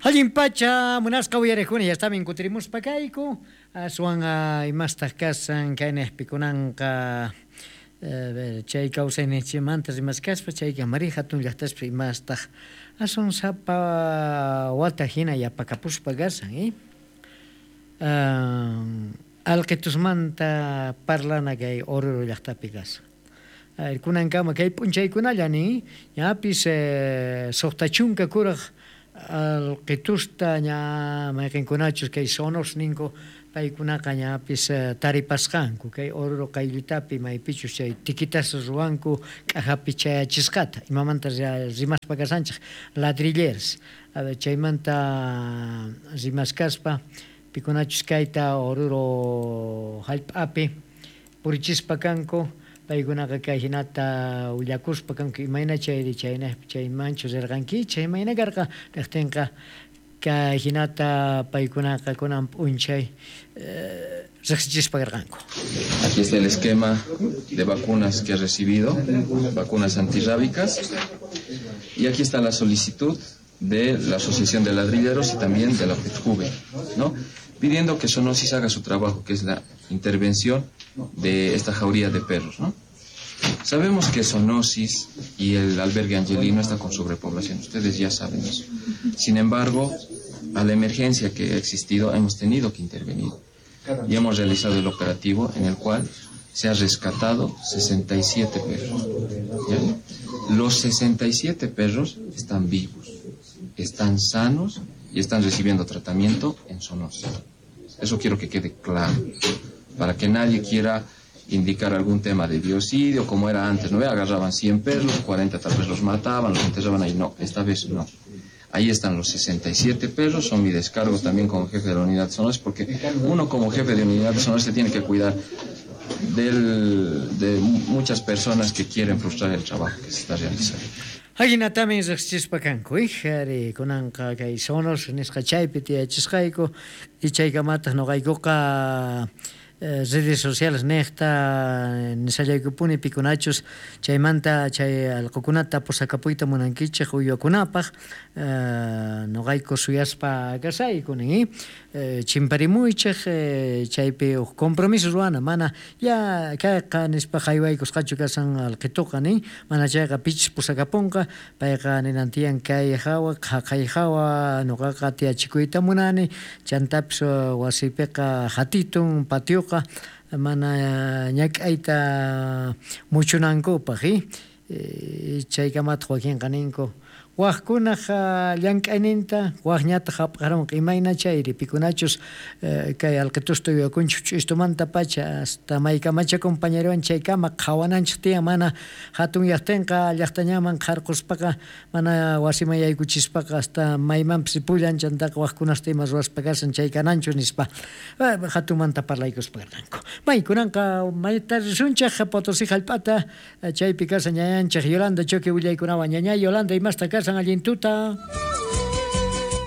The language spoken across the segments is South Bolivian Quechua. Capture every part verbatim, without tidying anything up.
Allin pacha munasqa uyariqkuna, ya estamin kutirimuspa kayku aswan imastaq kasan kaynejpi kunanqa chay kawsayninchikmanta rimaskaspa chayka mari hatun llaqtaspi imastaq aswan sapa wata hina yapakapuspa kasan eh alqitusmanta parlana kay Oruro llaqtapi kasan. Kunankama kay p'unchaykunalla nin ñapis suqta chunka kuraq alqitusta ña mayqinkunachus kay sonos ninku paykunaqa ñapis taripasqanku kay Oruro qayllitapi maypichus chay tikitas ruwanku k'ajapi chayachisqata imamanta rimaspa kasanchik ladrilleras chaymanta rimaskaspa pikunachus kayta Oruro hallp'api purichispa kanku paykunaqa kay hinata willakuspa kanku imayna chayri chayna chaymanchu rirqankichik imayna karqa riqtinqa kay hinata paykunaqa kunan p'unchay riqsichispa karqanku. Aquí está el esquema de vacunas que he recibido, vacunas antirrábicas, y aquí está la solicitud de la Asociación de Ladrilleros y también de la FETJUVE, ¿no? Pidiendo que Zoonosis haga su trabajo, que es la intervención de esta jauría de perros, ¿no? Sabemos que Zoonosis y el albergue angelino está con sobrepoblación, ustedes ya saben eso. Sin embargo, a la emergencia que ha existido hemos tenido que intervenir y hemos realizado el operativo en el cual se ha rescatado sesenta y siete perros, ¿ya? Los sesenta y siete perros están vivos, están sanos y están recibiendo tratamiento en Zoonosis. Eso quiero que quede claro, para que nadie quiera indicar algún tema de biocidio, como era antes, ¿no? Agarraban cien perros, cuarenta tal vez los mataban, los enterraban ahí. No, esta vez no. Ahí están los sesenta y siete perros, son mi descargo también como jefe de la unidad de Zoonosis, porque uno como jefe de unidad de Zoonosis se tiene que cuidar del, de muchas personas que quieren frustrar el trabajo que se está realizando. Ajinatami riqsichispa kanku, ijari kunanqa kay Zoonosis nisqa chaypi tiyachisqayku y chaykamataq nuqaykuqa redes sociales niqta nisallaykupuni pikunachus chaymanta chay allqukunata pusakapuyta munankichik uywakunapaq nuqayku suyaspa kasayku nin chimparimuychik chaypi huk compromiso ruwana mana ya kayqa nispa haywaykusqachu kasan alqituqa nin mana chayqa pichis pusakapunqa payqa ninan tiyan kay hawa qhaqay hawa nuqaqa tiyachikuyta munani chantapis wasipiqa hatitun patioqa mana ñak'ayta muchunankupaq eh chaykamataq wakinqa ninku waqkunaq llank'ayninta waqñataq hap'aranqa imayna chayri pikunachus kay alqitusta uywakunchik ch'istumanta pacha hasta maykamacha compañerowan chaykama qhawananchik tiyan mana hatun llaqtinqa llaqtañaman qharquspaqa mana wasiman yaykuchispaqa hasta maymanpis pullan chantaqa waqkunasta ima ruwaspa kasan chay kananchu nispa hatunmanta parlaykuspa karqanku. May kunanqa mayta risunchik Potosí hallp'ata chaypi kasan ñañanchik Yolanda Choque willaykunawan. Ñaña Yolanda, imasta kasan allin tuta?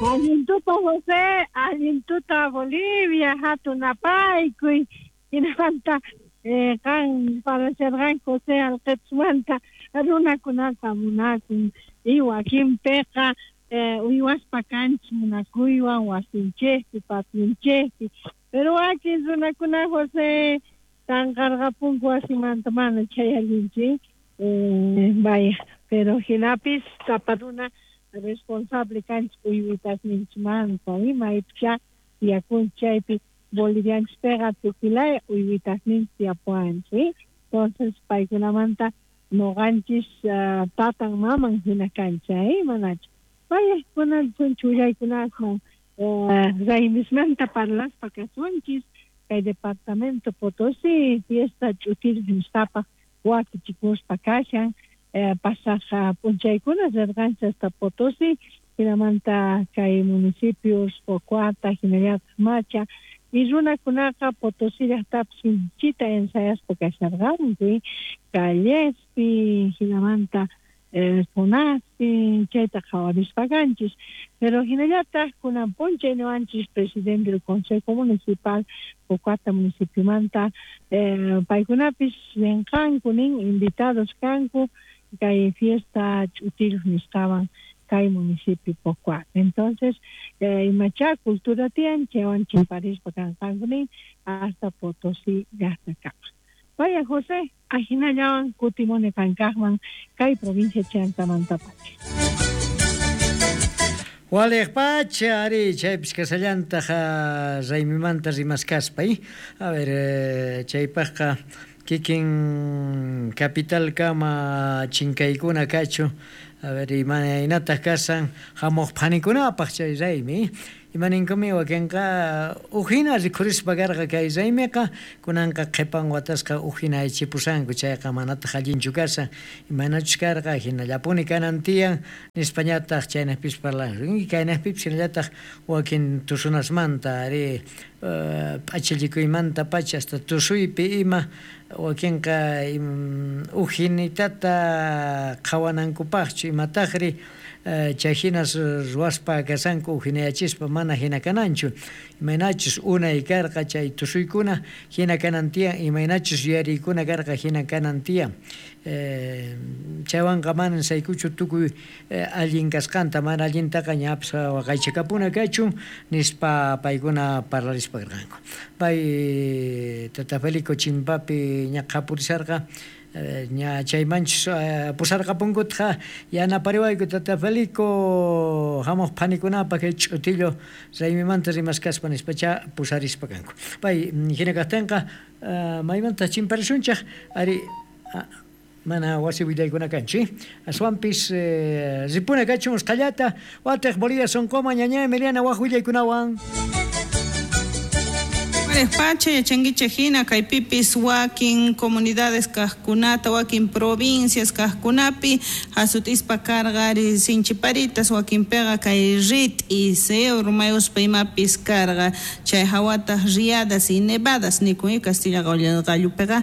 Allin tuta José, allin tuta Bolivia, hatun apaykuy hinamanta eh, qan parasharqan José alqitusmanta runakunaqa munakun y wakinpiqa eh, uywaspa kanchik munakuywan wasinchikpi pationchikpi, pero wakin runakuna José tanqarqapunku wasimanta mana chay allinchik eh, vaya, pero hinapis sapa runa responsable kanchik uywitasninchikmanta maypicha tiyakunchik chaypi bolivianchikpiqa tukilaya uywitasninchik tiyapuwanchik, entonces paykunamanta nuqanchis uh, tatan maman hina kanchik eh manachu. Vaya, kunan chullaykunasman uh, raymismanta parlaspa kasunchis kay departamento Potosí fiesta ch'utir nisqapaq wakichikuspa kashan eh, pasaq p'unchaykuna rirqanchik hasta Potosí hinamanta kay municipios Pocoata hinallataq Macha y runakunaqa Potosí llaqtapi sinchita ensayaspa kasharqanku callespi hinamanta eh, zonaspi chayta qhawarispa kanchis, pero hinallataq kunan p'unchay niwanchis presidente del Consejo Municipal Pocoata municipiomanta eh, paykunapis rinqanku nin invitados kanku kay fiesta ch'utir nisqawan Kay municipio Pocuac. Entonces, eh, imacha cultura tiyan, chaywan chimparispa kanqanku nin hasta Potosí llaqtakama. Vaya José, ajinallawan kutimuni qankaqman kay provincia Chantamantapacha. Waliq pacha, ari, chaypis kasallantaq raymimanta rimaskaspa, a ver, eh, chaypaqqa kikin capital kama chinkaykuna kachu, a ver, imaynataq kasan hamuq phanikunapaq chay raymi, imaninkumi wakinqa ujina rikhurispa karqa kay raymiqa, kunanqa qhipan watasqa ujina aychipusanku, chayqa manataq allinchu kasan, imaynachus karqa hinallapuni kanan tiyan, nispañataq chaynaqpis parlan, kaynaqpipis hinallataq wakin tusunasmanta, ari, p'achallikuymanta pacha hasta tusuypi ima wakinqa ujinitata qhawanankupaqchu imataqri chay hinas ruwaspa kasanku ujinayachispa mana hina kananchu, imaynachus unay karqa chay tusuykuna hina kanan tiyan, imaynachus yuyariykuna karqa hina kanan tiyan. Chaywanqa manan saykuchu tukuy allin kasqanta, mana allintaqa ñapis waqaychakapuna kachun nispa paykuna parlarispa karqanku. Pay Tata Felico chimpapi ña qhapurisarqa, ña chaymanchus pusarqapunkutqa yanapariwayku Tata Felico hamuq phanikunapaq kay ch'utillo raymimanta rimaskaspa nispacha pusarispa kanku. Pay hina kaqtinqa maymanta chimparisunchaq ari mana wasi willaykuna kanchu, aswanpis ripuna kachun usqhallata watiq Bolivia sonqoma ñaña Emiliana waq willaykunawan. Pacha yachankichej hina kaypipis wakin comunidades kaqkunata wakin provincias kaqkunapi hasutispa karqa ari sinchiparitas wakinpiqa kay rit'is urmayuspa imapis karqa chay hawataq riadas y nevadas nikun Castilla qallupiqa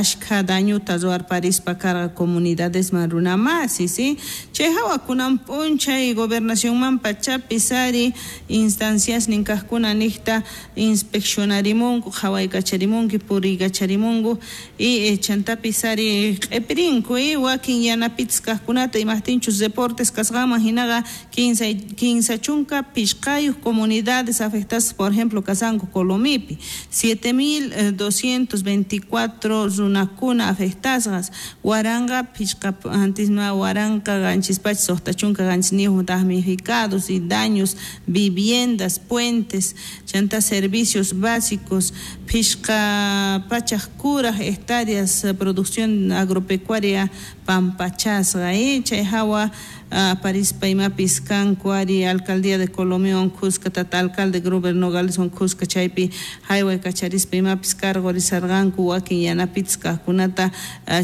ashkha dañuta ruwarparispa karqa comunidadesman runamasi si chay hawa kunan p'unchay gobernacionman pachapis ari instanciasnin kaqkuna niqta inspeccionarimunku qhawaykacharimunki puriykacharimunku y chantapis ari q'ipirinku wakin yanapitas kaqkunata imaqtinchus reportes kasqanman hinaqa kinsa kinsa chunka pishqayuq comunidades afectadas por ejemplo kasanku Colomipi siete mil doscientos veinticuatro runakuna afectasqas waranqa pishqa antisma waranqa qanchis pachak suqta chunka qanchisniyuq damnificados y daños viviendas puentes chanta servicios básicos, pishqa pachak kuraj hectáreas producción agropecuaria pampachasqa eh chay hawa aparispa imapis kanku ari alcaldía de Colomión Cusca tata alcalde Gruber Nogales Cusca chaypi haywaykacharishpa imapis cargo risarqanku wakin yanapitas kaqkunata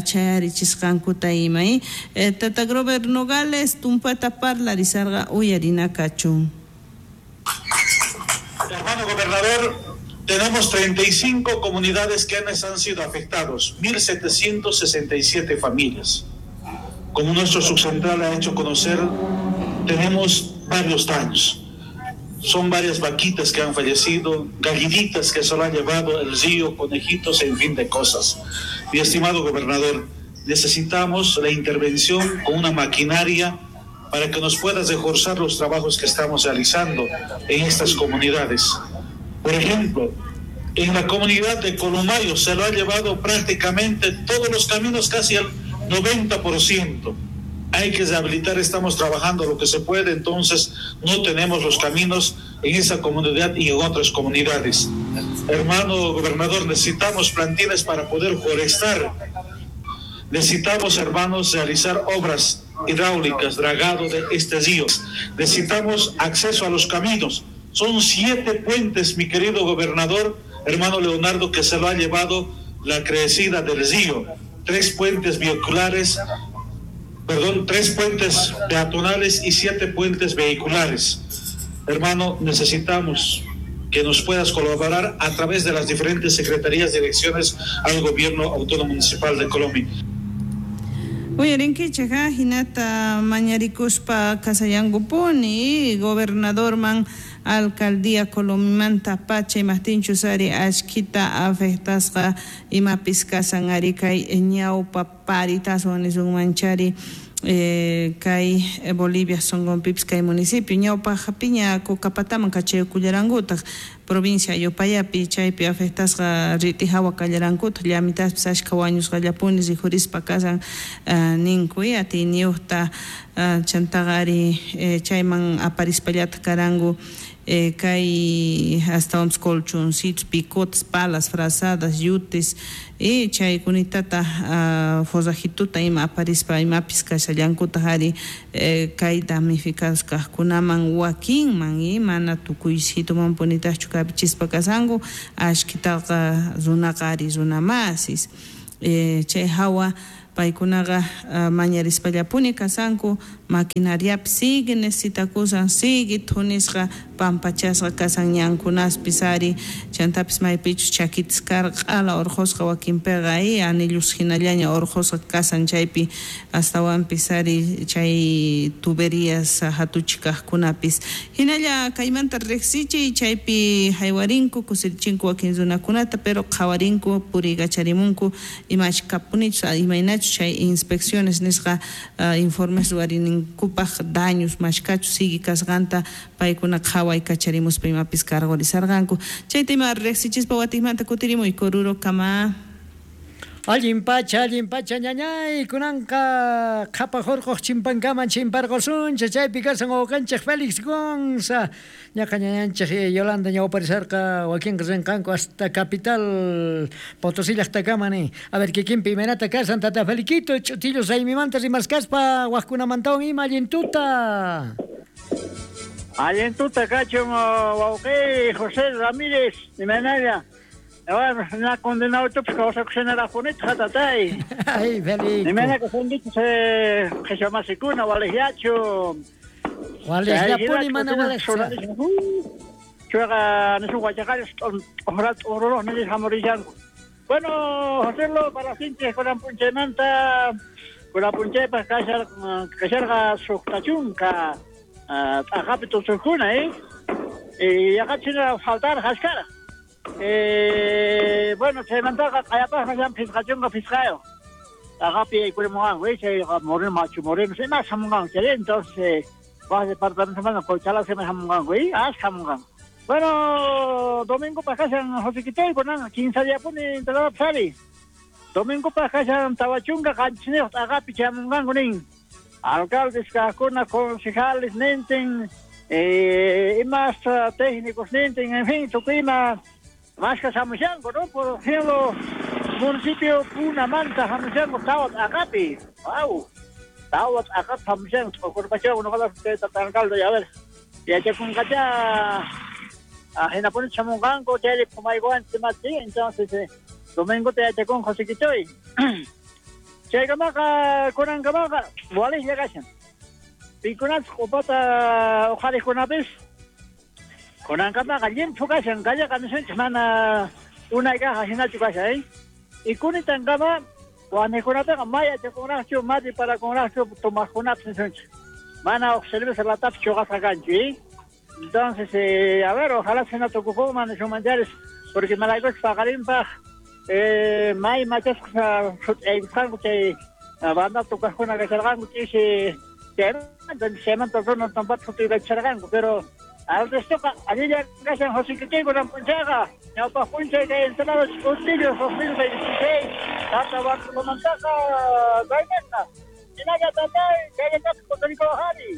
chayarichisqankuta ima eh tata Gruber Nogales tumpata parlarisarqa uyarinakachun. Hermano gobernador, tenemos treinta y cinco comunidades que han sido afectados, mil setecientas sesenta y siete familias. Como nuestro subcentral ha hecho conocer, tenemos varios daños. Son varias vaquitas que han fallecido, gallinitas que se lo han llevado el río, conejitos, en fin de cosas. Mi estimado gobernador, necesitamos la intervención con una maquinaria para que nos puedas reforzar los trabajos que estamos realizando en estas comunidades. Por ejemplo, en la comunidad de Columayo se lo ha llevado prácticamente todos los caminos, casi el noventa por ciento. Hay que rehabilitar, estamos trabajando lo que se puede, entonces no tenemos los caminos en esa comunidad y en otras comunidades. Hermano gobernador, necesitamos plantines para poder forestar. Necesitamos, hermanos, realizar obras hidráulicas, dragado de este río. Necesitamos acceso a los caminos. Son siete puentes, mi querido gobernador, hermano Leonardo, que se lo ha llevado la crecida del río. Tres puentes vehiculares, perdón, tres puentes peatonales y siete puentes vehiculares. Hermano, necesitamos que nos puedas colaborar a través de las diferentes secretarías, direcciones al gobierno autónomo municipal de Colomi. Uyarinkichej hinata mañarikuspa kasayankupuni gobernadorman alcaldía Colomimanta pacha imaqtinchus ari ashkita afectasqa imapis kasan ari kay ñawpa paritaswan nisunmanchari eh, kay Bolivia sonqonpipis kay municipio ñawpaq piña Cocapataman kachaykullarankutaq provincia Yupayapi chaypi afectasqa rit'i hawa kallarankutaq llamitaspis ashka wañusqallapuni rikhurispa kasan uh, ninku atiyniyuqta uh, chantaqa ari eh, chayman aparispallataq karanku Eh, kay astawanpis colchoncitos, picotes, palas, frazadas, yutes y chaykunitata uh, forrajituta ima aparispa imapis kashallankutaq ari eh, kay damnificados kaqkunaman wakinman y mana tukuysituman punitaqchu kapichispa kasanku ashkitaqa runaqa ari runamasis eh, chay hawa paykunaqa uh, mañarispallapuni kasanku maquinariapi sigue necesitakusan sigue thunisqa pampachasqa kasan ñankunaspis ari chantapis maypichus chakitas karqa q'ala urqusqa wakinpiqa y anillus hinallaña urqusqa kasan chaypi astawanpis ari chay tuberías hatuchi kaqkunapis hinalla kaymanta riqsichiy chaypi haywarinku kusirichinku wakin runakunata pero qhawarinku puriykacharimunku imachi kapunichus imaynachus chay inspecciones nisqa uh, informes ruwarinkupaq daños mashkachus sigue kasqanta paykuna qhawaykacharimuspa imapis cargorizarqanku chayta ima riqsichispa watikmanta kutirimuy Koruro kama. Allin pacha, allin pacha, ñañay, kunanqa qhapaq urquq chimpankaman chimparqusunchik, chaypi kasan wawqanchik Félix Gonza, ñaqa ñañanchik Yolanda ñawparisarqa wakinqa rinqanku hasta capital Potosí llaqtakama ni. A ver, kikinpi imaynata kasan tata Feliquito, ch'utillo raymimanta rimaskaspa waqkunamantawan ima allin tuta. Allin tuta kachun wawqi José Ramírez, imaynalla. Bueno, na condenado tupis kawsakushanarakpunita hatatay. Ay, Felipe. Nimena que son dichos eh qhichwamasikuna waliqllachu. Waliqllapuni mana waliqcha. Chuqa nisun wachaqallas t'uqrat t'ururuq nilis hamurishanku. Bueno, Joselo, para sinchis kunan punchaymanta kunan punchaypaq kashar kasharqa suqtachunka t'aqapi tusuqkuna, eh. Y yaqachina faltar hashkara. Eh, bueno, chaymantaqa q'ayapaqqa llam phisqachunqa phisqayo. T'aqapi yaykurimunqanku, chayqa Moreno Machu Moreno, ima hamunqanku chay, entonces waq departamentomanta Qochalasima hamunqanku, ashka hamunqanku. Bueno, domingopaq kashan José kunan kinsa diapuni entrada sari. Domingopaq kashan tawachunka qanchisniyuq t'aqapi chayamunqanku nin. Alcaldes kaqkuna, concejales nintin, eh, imas técnicos nintin, en fin, tukuy ima más que hamushanku, ¿no? Por ejemplo, municipio Punamanta hamushanku tawat aqapi. Wow. Tawat aqap hamushanku. Okurpachaw noqaqa tata alcalde, a ver. Yachakunqacha hinapuni chamunqanku chayri pumaykuwan chimati, entonces eh, domingo te yachakun José Chaykamaqa kunankamaqa waliqlla kashan. Pikunas q'upata uqhariqkunapis kunankamaqa llimphu kashan, kallaqa nisunchik mana unay kaqa hinachu kashan, eh? Y kunitankama waniqkunapiqa may yachakunraqchu, may parakunraqchu tomaqkunapis nisunchik. Mana uq cerveza latapis chuqasqa kanchu, eh? Entonces, eh, a ver, ojalá se no tukupunman nisunmancharis, porque malaykuchus paqarinpaq eh, may machasqa sut'aykusqanku chay banda tukaqkuna kasharqanku ch'isi chaymanta chaymanta runa tampata sut'iykachisharqanku, pero al restoqa allilla kashan José kunan punchayqa ñawpaq punchay kay entrada Ch'utillo dos mil veintiséis tata Bartolomantaqa kayninqa hinalla tatay chayllatapas kutirikuwaqari.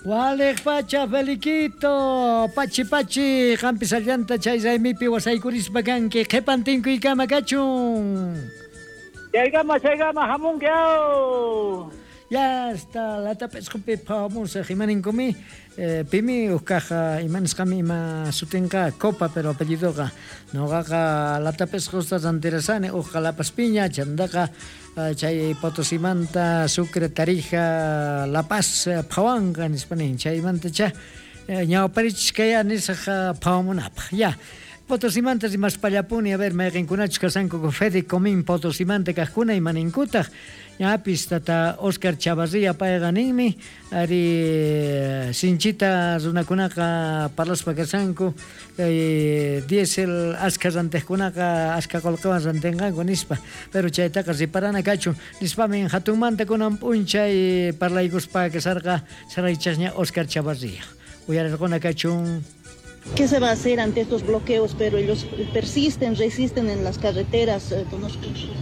Waliq pacha Feliquito, pachi pachi, qampis allanta chay raymipi wasaykurispa kanki, qhipan tinkuykama kachun. Chaykama chaykama hamunki aw. Ya está, latap'isqupi phawamusaq imaninkumi, eh, pimi uqkaq imanisqami ima sutinqa Copa, pero apellidoqa noqaqa latap'isqusta rantirasani uqqa La Paz-piña, chantaqa chay Potosimanta Sucre, Tarija, La Paz phawanqa nispa nin, chaymantacha ñawparichiskaya nisaq phawamunapaq. Ya. Potosimanta rimaspallapuni, a ver, mayqinkunachus kasanku Fede Comín Potosimanta kaqkuna imaninkutaq. Ñapis tata Oscar Chavarría payqa ninmi, ari Sinchita runakunaqa parlaspa kashanku kay diésel askha rantejkunaqa askha qolqewan rantenqanku nispa, pero chaytaqa riparana kachun nispamin hatunmanta kunan p'unchay parlaykuspa kasarqa saraychasña Oscar Chavarría. Uyarirquna kachun. ¿Qué se va a hacer ante estos bloqueos? Pero ellos persisten, resisten en las carreteras. Eh,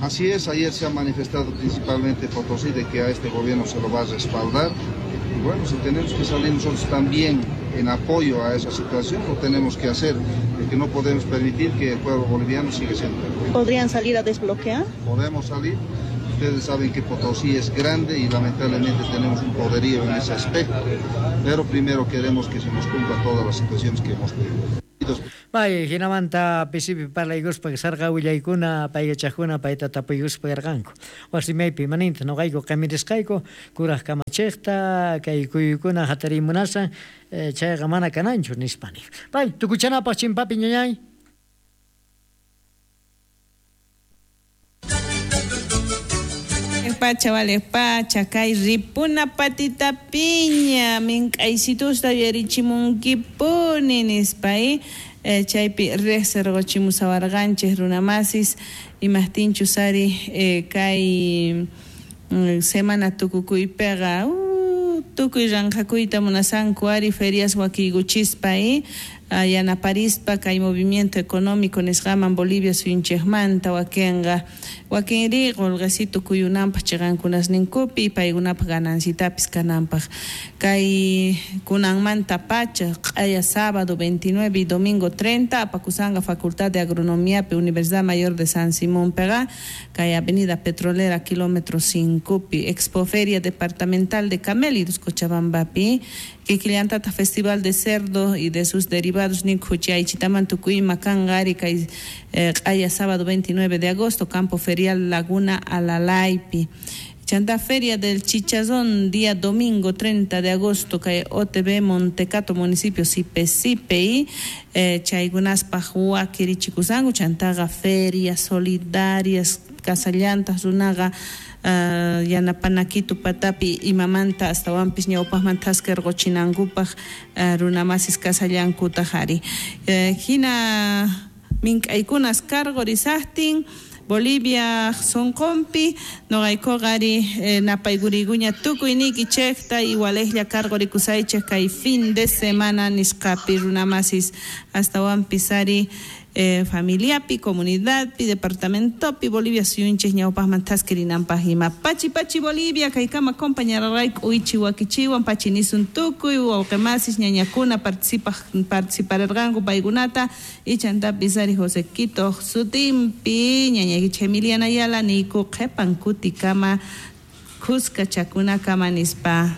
Así es, ayer se ha manifestado principalmente Potosí de que a este gobierno se lo va a respaldar. Y bueno, si tenemos que salir nosotros también en apoyo a esa situación, lo tenemos que hacer, porque no podemos permitir que el pueblo boliviano siga siendo. ¿Podrían salir a desbloquear? Podemos salir. Ustedes saben que Potosí es grande y lamentablemente tenemos un poderío en ese aspecto, pero primero queremos que se nos cumpla todas las situaciones que hemos pedido. Bay, hinamanta pisipi parlaykuspa sarqa willaykuna paykachaqkuna payta tapuykuspa karqanku. Wasimaypi maninta noqayku qamirisqayku kuraq kamachiqta kay kuyuykuna hatarimunasan chayqa mana kananchu nispa nin. Bay, tukuchanapaq chimpapi ñañay. Pacha vale pacha kay ripuna patita piña mink'aysitusta yuyarichimunkipuni nispa eh, chaypi riqsirquchimusawarqanchik runamasis imaqtinchus ari eh, kay semana tukukuypiqa uh, tukuy ranqakuyta munasanku ari ferias wakiykuchispa eh, yanaparispa kay movimiento económico nisqaman Bolivia suyunchikmanta wakinqa wakinri qolqesito kuyunanpaq chiqankunasninkupi paykunapaq ganancitapis kananpaq kay kunanmanta pacha q'aya sábado veintinueve y domingo treinta apakusanqa Facultad de Agronomiapi Universidad Mayor de San Simón pega kay Avenida Petrolera kilómetro cinco pi Expoferia Departamental de Camélidos Cochabambapi kikillantata Festival de Cerdo y de sus derivados ninkuchaychitaman tukuyma kanqa ari kay q'aya sábado veintinueve de agosto Campo Ferial Laguna Alalaypi Chanta Feria del Chichazón día domingo treinta de agosto kay O T B Montecato municipio Sipe Sipe y eh, chaykunaspaq wakirichikusanku chantaqa ferias solidarias kasallantas runaqa Uh, yanapanakitu patapi imamanta astawanpis ñawpaqman thaskarquchinankupaq uh, runamasis kasallankutaq ari uh, hina mink'aykunas karqurisaqtin Bolivia sonqonpi noqaykuqa ari eh, napayguriguña tukuyniykichikta igualejlla karqurikusaychik kay fin de semana nisqapi runamasis astawanpis ari Eh, familiapi, comunidadpi, departamentopi, Bolivia suyunchik ñawpaqman thaskirinanpaq ima pachi pachi Bolivia kaykama compañararayku uichi wakichiwan pachi nisun tukuy wawqimasis ñañakuna participaq participararqanku paykunata ichantapis ari José Quito sutinpi ñañaykichik Emiliana Ayala niyku qhipan kutikama kuskachakunakama nispa.